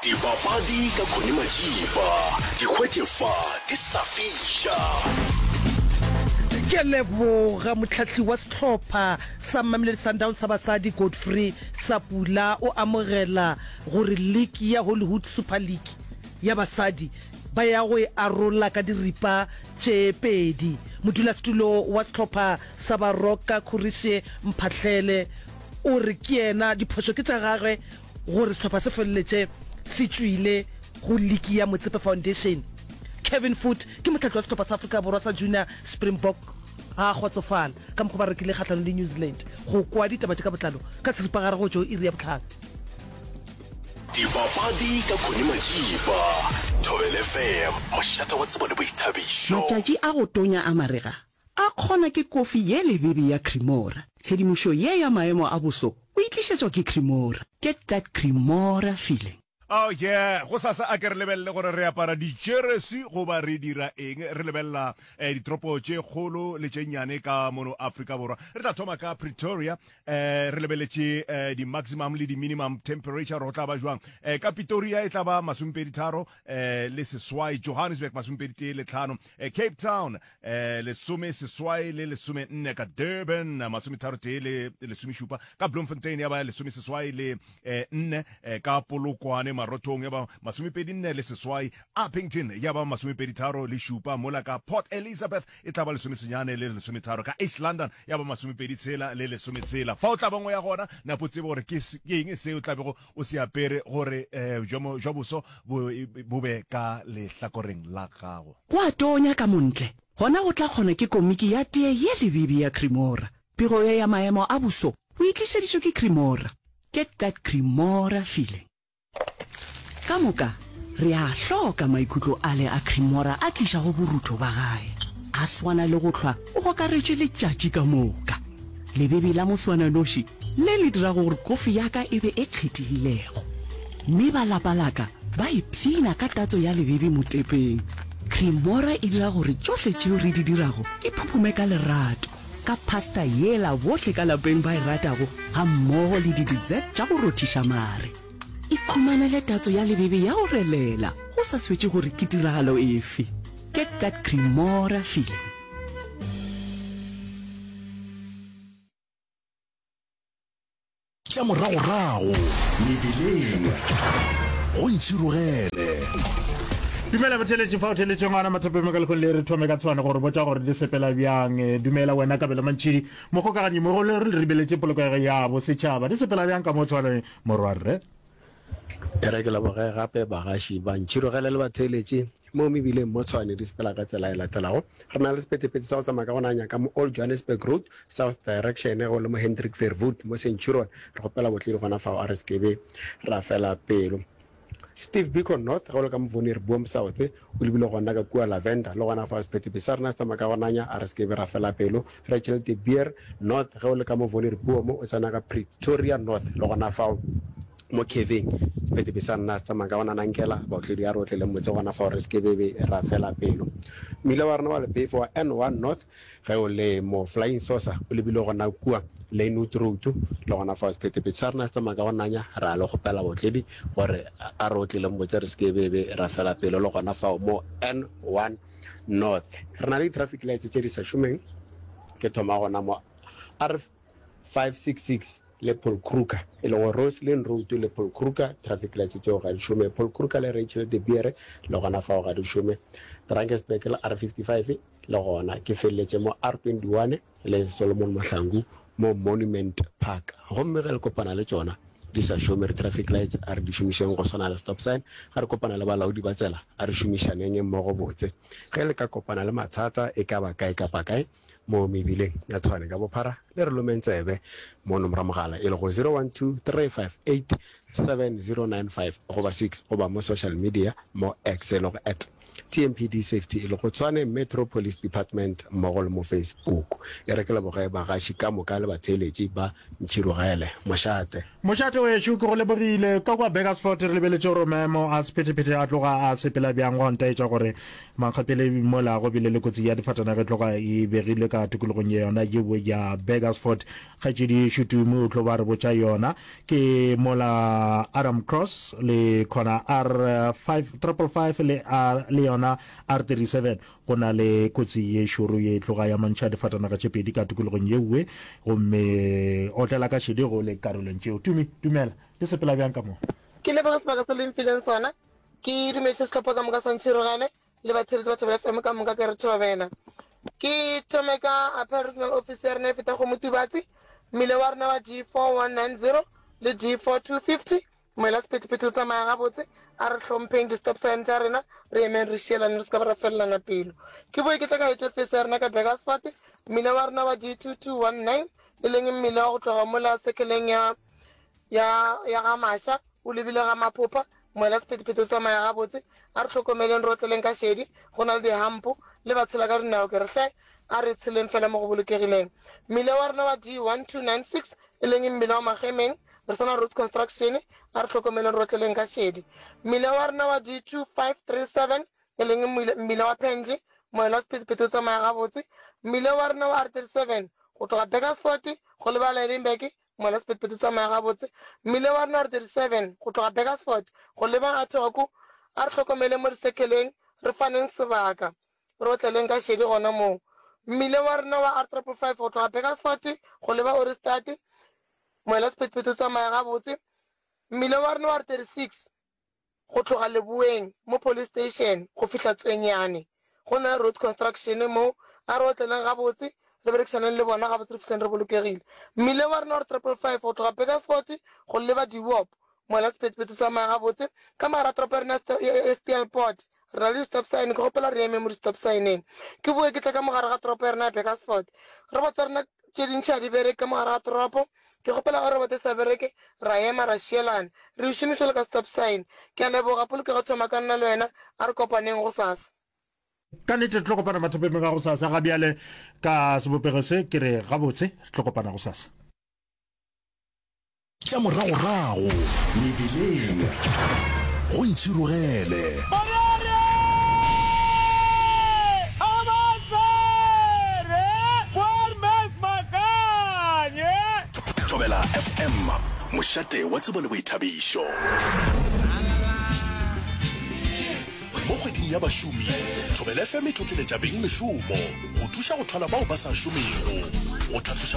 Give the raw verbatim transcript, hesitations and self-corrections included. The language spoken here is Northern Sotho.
Dipapadi ka Connie Majiba, di hwetše fa di sa fiša. Ke a leboga mohlahli wa sehlopha sa Mamelodi Sundowns sa basadi Godfrey Sapula o amogela gore liki ya Hollywood Super League ya basadi ba ya go e arola ka diripa tše pedi. Modulasetulo wa sehlopha sa Baroka Khurishe Mphahlele o re ke yena diphošo ke tša gagwe gore sehlopha se feleletše se tšwile go liki ya Motsepe Foundation. Kevin Foote ke mohlahli wa sehlopha sa Afrika Borwa sa Junior Springbok ga a kgotsofala ka mokgwa ba rekile kgahlanong le New Zealand. Go kwa ditaba tše ka botlalo ka seripagare go tšo iri ya bohlano. Dipapadi ka Connie Majiba, Thobela F M, mošate wa tsebo le boithabišo. Matšatši a go tonya a marega a kgona ke kofi ye lebebe ya Cremora. Tshedimošo ye ya maemo a boso o e tlišetšwa ke Cremora. Get that Cremora feeling. Oh yeah, gosasa a ke re lebelele gore re apara dijeresi goba re dira eng. Re lebelela eh, ditoropo tše kgolo le tše nnyane ka mono Afrika Borwa. Re tla thoma ka Pretoria, eh, re lebeletše eh, di-maximum le di-minimum temperature gore go tla ba jwang. Eh, ka Pretoria e tla ba masomepedi tharo eh, le seswai, Johannesburg masomepedi tee le tlhano, eh, Cape Town eh, lesome seswai le lesome nne, ka Durban masometharo tee le lesomešupa, ka Bloemfontein ya ba lesome seswai le eh, nne, eh, ka Polokwane Marothong ya ba masomepedi nne le seswai, Upington ya ba masomepedi tharo le šupa, mola ka Port Elizabeth e tla ba lesomesenyane le lesometharo, ka East London ya ba masomepedi tshela le lesometshela. Fa o tla bangwe ya gona napo tsebe gore ke eng seo tla bego o se apere gore eh, jwa boso bo, bo be ka lehlakoreng la gago. Go a tonya ka montle, gona go tla kgona ke komiki ya tee ye lebebe ya Cremora. Pego ye ya maemo a boso o e tlišeditšwe ke Cremora. Get that Cremora feeling. Ka moka re a hloka maikutlo ale a Cremora a tlišago borutho ba gae. A swana le go hlwa o gokaretšwe letšatši ka moka. Lebebe la moswananoši le le dirago gore kofi ya ka e be e kgethegilego. Mme ba lapa la ka ba ipshina ka tatso ya lebebe motepeng. Cremora e dira gore tšohle tšeo re di dirago di phuphume ka lerato, ka pasta yela bohle ka lapeng ba e ratago gammogo le di-dessert tša go rothiša mare. Ikhumanele tatso ya lebebe ya go relela go sa swetše gore ke tiragalo efe. Get that Cremora feeling. Tša moragorago mebileng go ntšhirogele. Dumela botheletši fa o theletše ngwana mathapeng ka lekgong le re thome ka tshwane gore botša gore di sepela bjang. Dumela wena Kabelo Mantšhidi mogokaganyi mogolo re ribeletše polokego ya bosetšhaba di sepela bjang ka mo tshwane morwarre. E re ke leboge gape bagaši ba ntšhirogele le batheeletši mo mebileng mo Tshwane di sepela ka tsela e latelago. Re na le sephethephethe sa go tsamaya ka go nanya ka mo Old Johannesburg Road, South Direction, go le mo Hendrik Verwoerd mo Centurion. Re kgopela botledi gona fao a re se kebe ra fela pelo. Steve Biko North, ge o le ka mo Vonierboom South, o lebile gona ka kua Lavender, le gona fao sephethephethe sa rena se tsamaya ka go nanya, a re se kebe ra fela pelo. Rachel de Beer North, ge o le ka mo Vonierboom o tsena ka Pretoria North, le gona fao mo Kevin sephethephethe sa rena se tsamaya ka go nanankela, baotledi a re otleleng motse gona fao re se kebe ra fela pelo. Mmila wa rena wa lephefo wa N one North, ge o le mo Flying Saucer o lebile gona kua Lynnwood Road, le gona fao sephethephethe sa rena se tsamaya ka go nanya, ra le kgopela baotledi gore a re otleleng motse re se kebe ra fela pelo, le gona fao mo N one North. Re na le di-traffic lights tše di sa šomeng, ke thoma gona mo R five six six le Paul Kruger, e lego Roslyn Road le Paul Kruger, traffic lights tšeo ga di šome. Paul Kruger le Rachel de Beer le gona fao ga di šome. Drakensberg le R fifty-five le gona ke feleletše mo R twenty-one le Solomon Mahlangu mo Monument Park. Gomme ge le kopana le tšona di sa šome, re traffic lights a re di šomišeng go swana le stop sign. Ga re kopana le balaodi ba tsela a re šomišaneng mmogo botse. Ge le ka kopana le mathata e ka ba kae kapa kae mo mebileng ya Tshwane ka bophara, le re lomeng tsebe mo nomoro mogala e lego zero one two three five eight seven zero nine five goba six, goba mo social media mo X e lego at T M P D Safety e lego Tshwane Metro Police Department mmogo le mo Facebook. E re ke leboge bagaši ka moka le batheeletši ba Ntšhirogele. Mošate. Mošate wešo, ke go lebogile. Ka kua Burgersfort re lebeletše gore maemo a sephethephethe a tloga a sepela bjang, gwa ntaetša gore mankgapele mola go bile le kotsi ya difatanaga e tloga e begilwe ka tikologong ya yona yeo ya Burgersfort. Kgaetšedi Šutumu o tlo ba re botša yona. Ke mola Adam Cross le khona R five triple five le R le yona R thirty seven go na le kotsi ye šoro ye tloga ya mantšha difatanaga tše pedi ka tikologong yeuwe, gomme otlela ka šedi go le karolong tšeo. Tumi, dumela, di sepela bjang ka mo? Ke leboge sebaka se le mfileng sona. Ke dumediše sehlopha ka moka sa Ntšhirogele le batheeletši ba Thobela F M ka moka ke re thobela. Ke thome ka Appeal Regional Office ya rena e feta go Motubatsi, mmile wa rena wa D four one nine zero le D four two fifty, moela sephethephethe o tsamaya gabotse, a re hlompheng di-stop sign tša rena, re emeng re šielane re se ka ba ra felelana pelo. Ke boe ke tle ka head office ya rena ka Burgersfort, mmile wa rena wa D two two one nine e leng mmile wa go tloga mola sekeleng ya ya ya ga Masha o lebile ga Maphopha, moela sephethephethe o tsamaya gabotse, a re hlokomeleng re otleleng ka šedi, go na le dihampo le ba tshela ka dinao ke re hle a re tsheleng fela mo go bolokegileng. Mmile wa rena wa D one two nine six e leng mmile wa Magemeng, re sana road construction, a re hlokomeleng re otleleng ka šedi. Mmile wa rena wa D two five three seven e leng mmile wa Penji, moela wa sephethephethe o tsamaya gabotse. Mmile wa rena wa R thirty seven go tloga Burgersfort go leba Lydenburg, moela wa sephethephethe o tsamaya gabotse. Mmile wa rena wa R thirty seven go tloga Burgersfort go leba Athoko, a re hlokomeleng mo disekeleng, re faneng sebaka, re otleleng ka šedi gona moo. Mmile wa rena wa R triple five go tloga Burgersfort go leba Ohrigstad, moela sephethephethe o tsamaya gabotse. Mmile wa rena wa R thirty six go tloga Leboeng mo police station go fihla Tswenyane, go na le road construction mo, a re otleleng gabotse, re berekišaneng le bona gabotse, re fihleng re bolokegile. Mmile wa rena wa R triple five go tloga Burgersfort go leba Dewop, moela sephethephethe o tsamaya gabotse. Ka mogare ga toropo ya rena ya Steelpoort re na le di-stop sign, ke gopela re eme mo di-stop signeng. Ke boe ke tle ka mogare ga toropo ya rena ya Burgersfort, robots tsa rena tše dintši ga di bereke ka mogare ga toropo, ke gopela ge robot e sa bereke ra ema ra šielana, re e šomiše le ka stop sign. Ke a leboga, polokego thoma ka nna le wena, a re kopaneng gosasa. Ka nnete re tlo kopana mathapemeng a gosasa. Ga bjale ka sebopego se ke re gabotse, re tlo kopana gosasa. Tša moragorago mebileng go Ntšhirogele. Thobela F M, mošate wa tsebo le boithabišo. Mo kgweding ya bašomi, Thobela F M e tlotleletša beng mešomo go thuša go thwala bao ba sa šomego, go tlhatloša